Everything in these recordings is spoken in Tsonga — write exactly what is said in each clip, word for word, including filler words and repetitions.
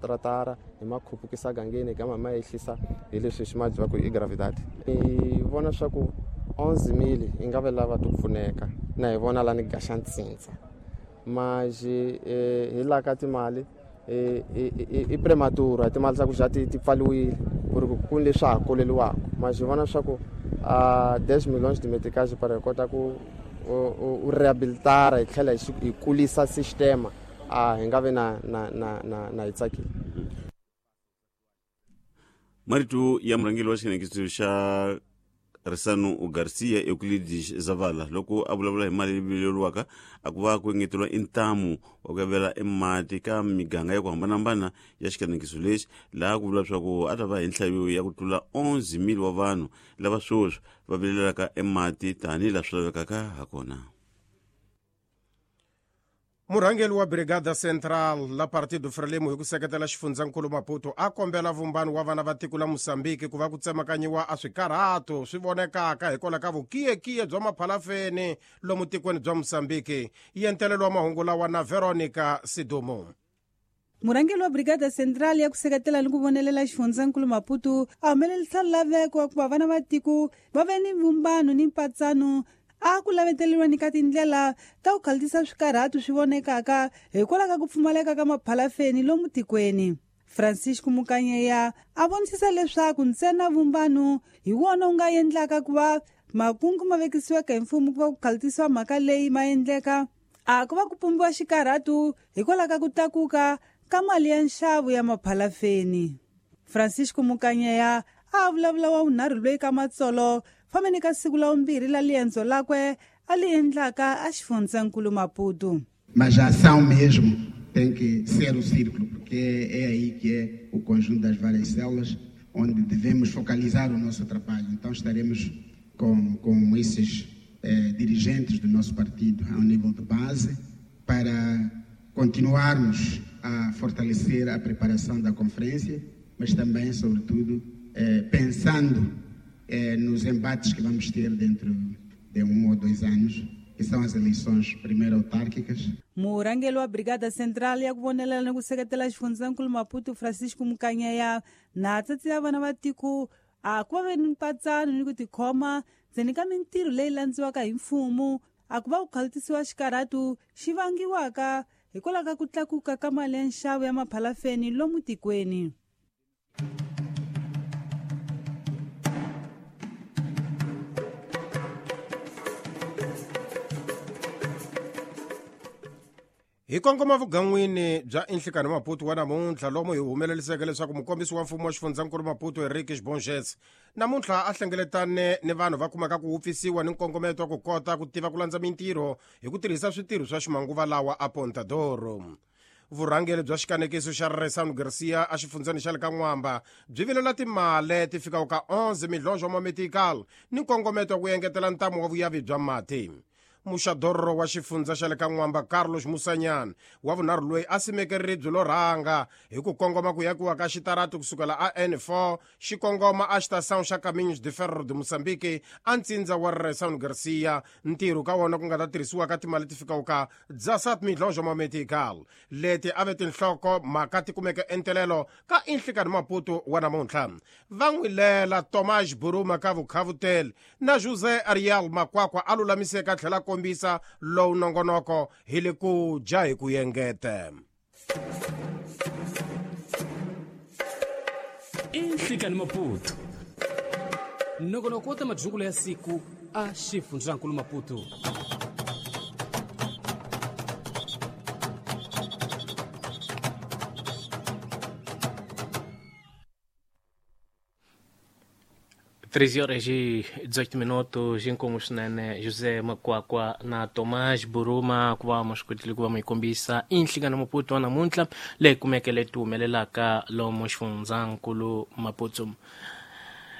tratara hi ma khupukisa gangeni hi gama ma ehlisa hi leswi xi ma ku i gravidade. Hi vona swa ku onze mille hi nga ve lava to pfuneka na hi vona lani gaxa ntsintsa maji hi la ka timali i prematura timali ta ku xa ti pfaliwile ku ri ku ni leswi ha koleliwaka maji vona swa ku a dez milhões de meticais para kota ku u rehabilitara hi tlhela hi kulisa sistema a hi nga vi na na na na na hi tsakile. Marito ya murhangeri wa xinekiso xa Resano Garcia Euclides Zavala loko a vulavula hi mali leyi vileriwaka a ku va ku engeteriwa intamu wa ku avela emati ka miganga ya ku hambanahambana ya xikanekiso lexi laha ku vula leswaku a ta va hi nhlayo ya ku tlula onze mille wa vanhu lava sweswi va vilelaka emati tanihi laha swi lavekaka hakona. Murhangeri wa Brigada Central la Partido Frelimo hi ku seketela xifundzankulu Maputo a kombela vumbano wa vana va tiko la Mozambique ku va ku tsemakanyiwa a swikarhato swi vonekaka hikwalaho ka vukiyekiye bya maphalafeni lomu tikweni bya Mozambique. Yentelelo wa mahungu lawa na Veronica Sidumo. Murhangeri wa Brigada Central ya ku seketela ni ku vonelela xifundzankulu Maputo a humelerisa laveko wa ku va vana va tiko va ve ni vumbano ni mpatsano a ku laveteriwa ni ka tindlela ta ku khaltisa swikarhato swi vonekaka hikwalaho ka ku pfumaleka ka maphalafeni lomu tikweni. Francisco Mukanyeya a vonisisa leswaku ntsena vumbano hi wona wu nga endlaka ku va makungu ma vekisiweke hi mfumo ku va ku khaltisiwa mhaka leyi ma endleka a ku va ku pumbiwa xikarhato hikwalaho ka ku tlakuka ka mali ya nxavo ya maphalafeni. Francisco Mukanyeya a vulavula wa vunharhu loyi ka matsolo fambeni ka siku la vumbirhi la liendzo lakwe a li endlaka a xifundzankulu Maputo. Mas a ação mesmo tem que ser o círculo, porque é aí que é o conjunto das várias células onde devemos focalizar o nosso trabalho. Então estaremos com, com esses eh, dirigentes do nosso partido ao nível de base para continuarmos a fortalecer a preparação da conferência, mas também, sobretudo, eh, pensando eh, nos embates que vamos ter dentro de um ou dois anos, que são as eleições primeiro autárquicas. Murhangeri wa Brigada Central ya ku vonelela ni ku seketela xifundzankulu Maputo Francisco Mukanyeya na tsatsi ya vana va tiko a ku va ve ni mpatsano ni ku tikhoma ndzeni ka mintirho leyi landziwaka hi mfumo a ku va ku khaltisiwa xikarhato xi vangiwaka hikwalaho ka ku tlakuka ka mali ya nxavo ya maphalafeni lomu tikweni. Hi kongoma vugan'wini bya Inhlikani Maputo wa namuntlha lomu hi humeleliseke leswaku mukombisi wa mfumo wa xifundzankulu Maputo Henrique Bonges namuntlha a hlengeletane ni vanhu va kumaka ku wupfisiwa ni nkongometo wa ku kota ku tiva ku landza mintirho hi ku tirhisa switirho swa ximanguva lawa a Pontadoro. Vurhangeri bya xikanekiso xa Resano Garcia a xifundzeni xa le ka N'wamba byi vilela timali ti fikaka ka onze milhões wa mametical ni nkongometo wa ku engetela ntamu wa vuyavi bya mati. Muxadorro wa xifundza xa le ka N'wamba Carlos Musanyana wa vunharhu loyi a simeke ribye lo rhanga hi ku kongoma ku yakiwa ka xitarati kusukela a N four xi kongoma a xitação xa Caminhos de Ferro de Moçambique a ntsindza wa Resano Garcia ntirho ka wona ku nga ta tirhisiwa ka timali ti fikaka ka dezessete milhões wa mametical leti a ve tinhloko mhaka ti kumeke entelelo ka Inhlikani Maputo wa namuntlha. Va n'wi lela Tomás Buruma ka Vukhavutele na José Ariel Makwakwa a lulamiseka a tlhela kombisa lowu nongonoko hi le ku dya hi ku yengete. Inhlikani Maputo nongonoko wa ta madyungulo ya siku a xifundzankulu Maputo. treze horas e dezoito minutos, inkomu swinene José Makwakwa na Tomás Buruma ku va maswikotile ku va mi kombisa Inhlikani Maputo wa namuntlha leyi kumeke leti humelelaka lomu xifundzankulu Maputo.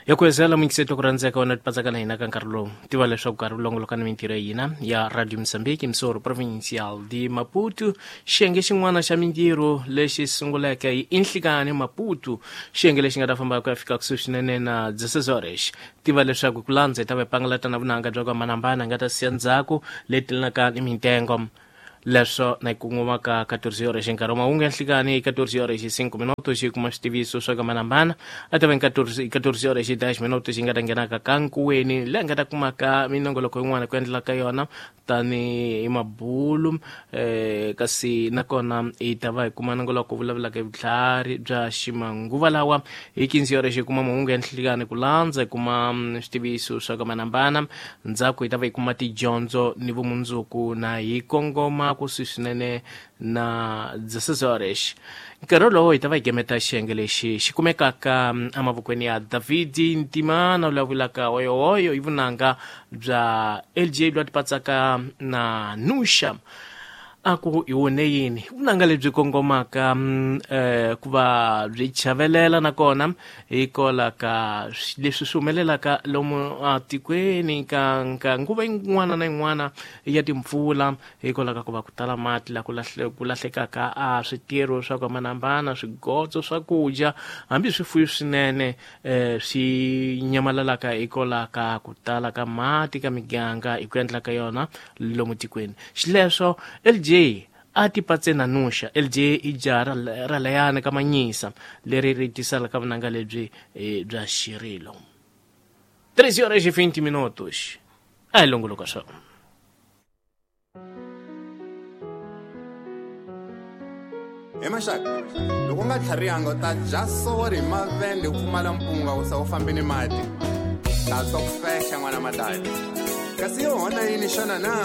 Ya ku hezela muyingiseti ku rhandzeka wena tipatsaka na hina ka nkarhi lowu tiva leswaku nkarhi wu longoloka ni mintirho ya hina ya Radio Mozambique Msoro Provincial de Maputo xiyenge xin'wana xa mintirho lexi sunguleke hi Inhlikani Maputo xiyenge lexi nga ta famba ku ya fika kusuhi swinene na dezesseis horas. Tiva leswaku ku landza hi ta va pangalata na vunanga bya ku hambanahambana nga ta siya ndzhaku leti lenaka ni mintengo leswo na yi kongomaka quatorze horas nkarhi wa mahungu ya nhlikani quatorze horas e cinco minutos. minutos hi kuma switiviso swa kamanambana a ta va catorze horas e dez minutos hi nga ta nghenaka ka nkuweni laha nga ta kumaka minongoloko yin'wana ku endlela ka yona tani hi mabulu eh, kasi nakona hi ta va hi kuma nongoloko vulavulaka hi vutlhari bya ximanguva lawa hi quinze horas hi kuma mahungu ya nhlikani ku landza hi kuma switiviso swa kamanambana ndzhaku hi ta va hi kuma tidyondzo ni vumundzuku na hi kongoma kusuhi swinene na dezesseis horas nkarhi wolowo hi ta va hi gemeta xiyenge lexi xi kumekaka emavokweni ya Davidi Ntimana vulavulaka oyohoyo hi vunanga bya L J bya tipatsaka na Nusha a ku hi wone yini vunanga lebyi kongomaka eh, ku va byi chavelela nakona hi kola ka leswi swi humelelaka lomu atikweni ka ka nguva yin'wana na yin'wana ya timpfula hi kola ka ku va ku tala mati la ku lahle ku lahlekaka a switirho swa ku hambanahambana swigotso swakudya hambi swifuyo swinene eh, swi nyamalalaka hi kola ka ku tala ka mati ka miganga hi ku endla ka yona lomu tikweni xileswo L J a tipatse na Nusha L J i jaha ra layana ka Manyisa leri ri tisala ka vunanga lebyi bya xirilo treze horas e vinte minutos a hi longoloka swona hi maxaka loko u nga tlharihanga u ta dya sori hi mavende u pfumala mpunga u sa u fambi ni mati ta twa ku fexa n'wana madadi kasi yo hona yini xana na